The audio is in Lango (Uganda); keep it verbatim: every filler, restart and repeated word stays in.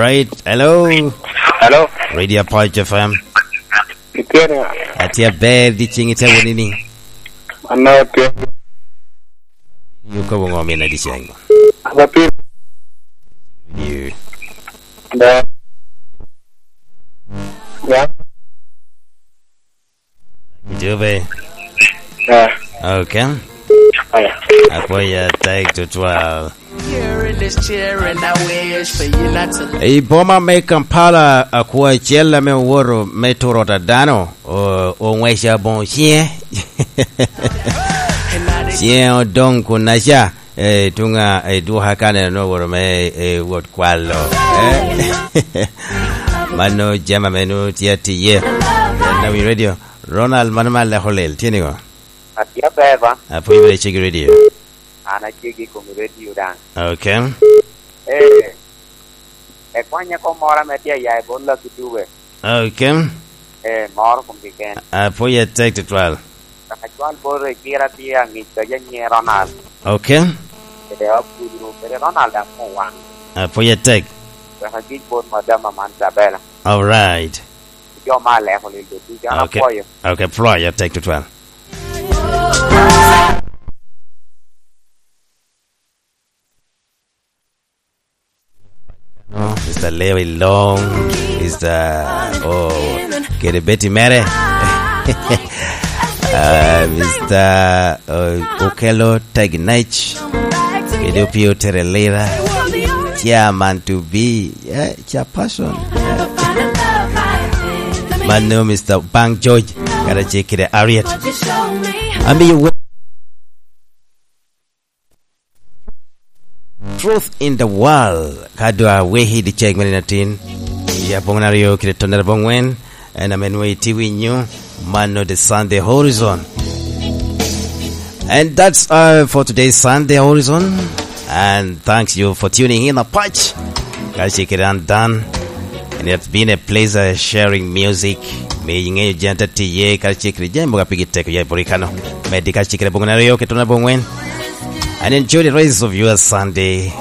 Right, hello. Hello. Radio Punch F M. Itye ni? Atye aber, di cing itye woni ni? Ano tye? Yuko wongo mina di cing. Apa pi? You. Da. Ya. Jube. Yeah. Okay. Yeah. Apoya take to twelve. I boma me Kampala, akwo acel ame owoto me turo ot a dano, o-, ong'weco aboŋo ciŋe. Ciŋe odoŋ kunnaca. Eh, tuŋa, eh, dwoka ka neno ni owoto me, eh, wot kwalo. Eh? Mano jami ame nwoŋo tye atiye. Nawi Radio. Ronald, mano me aleko lel, tye niŋo? Atye aber ba? Apwony bene cegi radio. An acegi i kom radio daŋ. Okay. Eh, ekwanya kom moro ame tye aya i bot Lucky Dube. Okay. Eh, moro kom keken. Apwony atek tutwal. Kaka cwal bot Ekira tye aŋic kede nyiŋe Ronald. Okay. Kede Abdul, kede Ronald daŋ mom owaŋ. Apwony atek. Wek agic bot madam aman Isabella. All right. Jo ma aleko lil ducu, an Okay. Apwoyo. Okay, apwoyo atek tutwal. No, Mister Lewi Long, Mister, oh, kede Betty mere. Ah, Mister, oh, Okello Tegnech, kede Opio Terelira, Chairman to be, eh, Chairperson. Mano, Mister Bang George, kara ce kede Harriet. Amiyo we- Truth in the World, ka dwa weki di ceg mene atin, i aboŋo aryo kede tonere aboŋwen, en ame nwoŋo iti winyo, mano the Sunday Horizon. And that's all for today's Sunday Horizon. And thanks you for tuning in, Apac. Ka ce kede an Dan. And it's been a pleasure sharing music. Me iŋeyo janta tiye, ka ce kede jami mogo a pigi tek ya i Borikano. Medi ka ce kede aboŋo aryo kede tonere aboŋwen. And enjoy the rest of your Sunday.